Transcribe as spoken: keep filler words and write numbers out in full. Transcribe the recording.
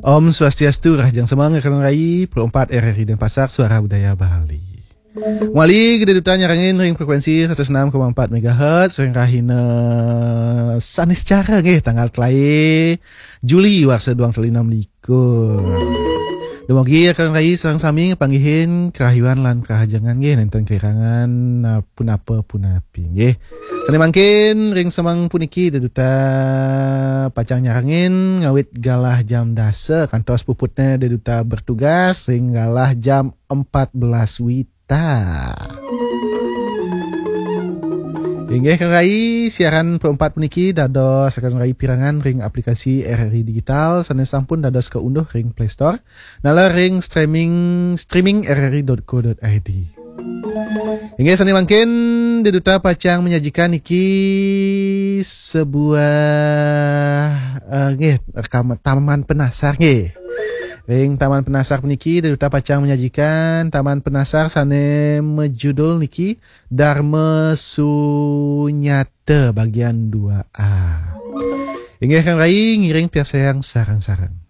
Om Swastiastu, rahajeng semeng rekan rai, Pro empat R R I Denpasar, Suara Budaya Bali. Malih Ida Duta nyarengin ring frekuensi seratus enam koma empat megahertz ring rahina Saniscara nggih, tanggal telae Juli warsa dua ribu enam belas. Dumogi rekan rai sareng sami ngapanggihin karahayuan lan karahajengan nggih, nenten kairangan, nah, punapa punapi nggih. Sane mangkin ring semeng puniki Ida Duta pacang nyarengin ngawit galah jam dasa kantos puputne Ida Duta bertugas ring galah jam empat belas wita. Inggih, rekan rai, siaran Pro empat puniki dados rekan rai pirengang ring aplikasi R R I Digital sane sampun dados kaunduh ring Play Store, naler ring streaming, streaming R R I dot co dot I D. Inggih, sane mangkin Ida Duta pacang menyajikan niki sebuah, eh, nggih, rekam taman penasar nggih. Ring taman penasar puniki Ida Duta pacang menyajikan taman penasar sane majudul niki Dharma Sunyata bagian dua A. Inggih, rekan rai, ngiring piarsayang sareng-sareng.